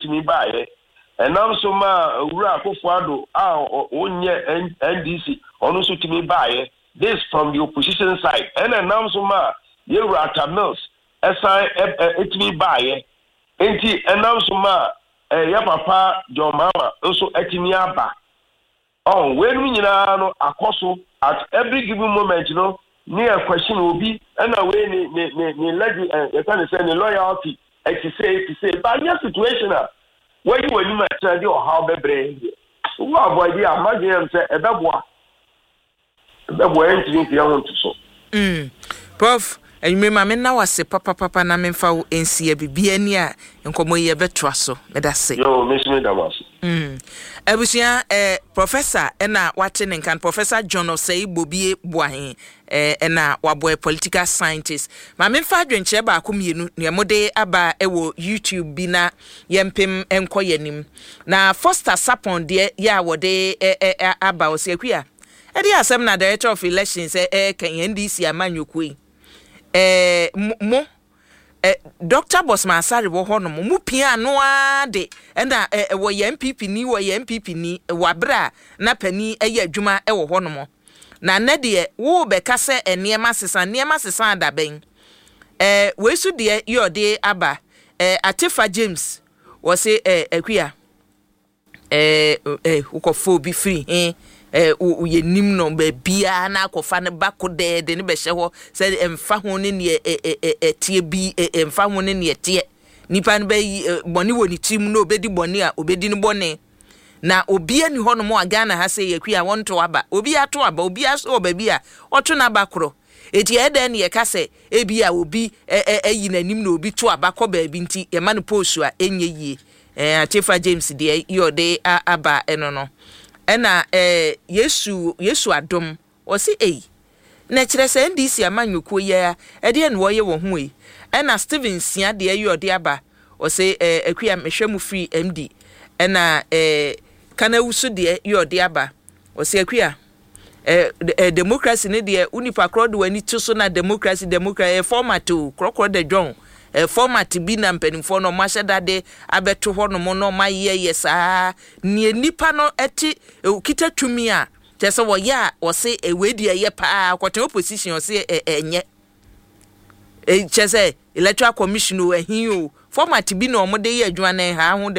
Tumi baeɛ. Ɛnam so maa Owura Akufo Addo a ɔnyɛ NDC ɔno nso tumi baeɛ. This from the opposition side. Ɛna ɛnam so maa Yɛwura Atta Mills ɛsan tumi baeɛ. Enti ɛnam so maa yɛ papa John Mahama nso atumi aba. Ɔho, weinom nyinaa no akɔ so at every given moment no ne yɛ question obi ɛna wei ne ne ne ne legi ɛ yɛka ne sɛ ne loyalty ɛte sei ɛte sei, but nyɛ situation a wayi w'anim akyerɛ de ɔhaw bɛbrɛ yɛn deɛ wo avoid a, m'adwene yɛ me sɛ ɛbɛboa. Ɛbɛboa yɛn ntumi mfi yɛn ho nto so. Prof, anwummere ma menna wo ase papapapa na memfa wo nsi ɛ. Biribiara ni a, nkɔmmɔ yi yɛbɛtoa so. Meda ase. Yoo, me nso meda mo ase. Abusua, eh, Professor ɛna wate ne nka no, Professor John Osei Bobie Boahen eh, ɛna wabɔ ɛ, political scientist. Ma memfa adwenkyerɛ baako mmienu nea mode aba ɛwɔ YouTube bi na yɛmpem nkɔ yɛn anim. Na Foster Sapon deɛ yɛ a wɔde ɛ ɛ aba, ɔsɛ Akua, ɛdeɛ asɛm na Director of Elections ɛ ɛreka yi, NDC amanyɔkuo yi, ɛ mo, mo ɛ Doctor Bosman Asare wɔ hɔnom, mo pia ano ara de ɛna ɛ wɔyɛ NPP ni, wɔyɛ NPP ni, wɔ abere a na panin ɛyɛ adwuma ɛwɔ hɔnom. Na nnɛ deɛ worebɛka sɛ nneɛma sesa, nneɛma sesa da bɛn? Ɛ wei so deɛ yɛ ɔde aba, ɛ Atefa James, wɔse ɛ Akua, ɛ ɛ wokɔfa obi firi he, ɛ wo yɛnim no baabiara na akɔfa no ba kodɛɛ de no bɛhyɛ hɔ sɛ ɛmfa ho ne neɛ ɛ ɛ ɛ ɛteɛ bi, ɛ ɛmfa ho ne neɛ ɛteɛ. Nipa no bɛyi ɛ bɔne wɔ ne tirim na obɛdi bɔne a obɛdi no bɔne. Na obia ni hɔnom a Ghana ha sɛ yɛkua a wɔnto aba. Obi ato aba, obi aso wɔ baabi a ɔto n'aba korɔ. Eti ɛyɛ dɛn na yɛka sɛ ebia obi ayi n'anim na obi to aba kɔ baabi nti yɛma no poosu a ɛnyɛ yie? Ɛɛ Atefa James deɛ yɛ ɔde aba ɛno no. Ɛna ɛɛ Yesu Yesu adom ɔse ei na ɛkyerɛ sɛ NDC amanyɔkuo yi ara ɛdeɛn na wɔyɛ wɔ ho ei? Ɛna Stephen Sia deɛ yɛ ɔde aba ɔse ɛɛ Akua mehwɛ mo firi MD. Ɛna ɛɛ Kanawusu deɛ yɛ ɔde aba ɔse Akua Eh, eh, democracy ne deɛ wo nipa korɔ de w'ani to so na democracy, democracy, eh, format o, korɔkorɔ da dwɔn. Eh, format bi na mpanimfoɔ no ɔmo ahyɛ dade abɛto hɔ nom na ɔmo ayɛ yɛ saa. Neɛ nipa no ɛte, okita tumi a, kyerɛ sɛ wɔyɛ a wɔse eh, wei deɛ ɛyɛ paa, kɔtɛn opposition ɔse eh, ɛnyɛ. Eh, kyerɛ sɛ electoral commission o, ɛhe o, format bi na ɔmo de yɛ adwuma na ɛha ho.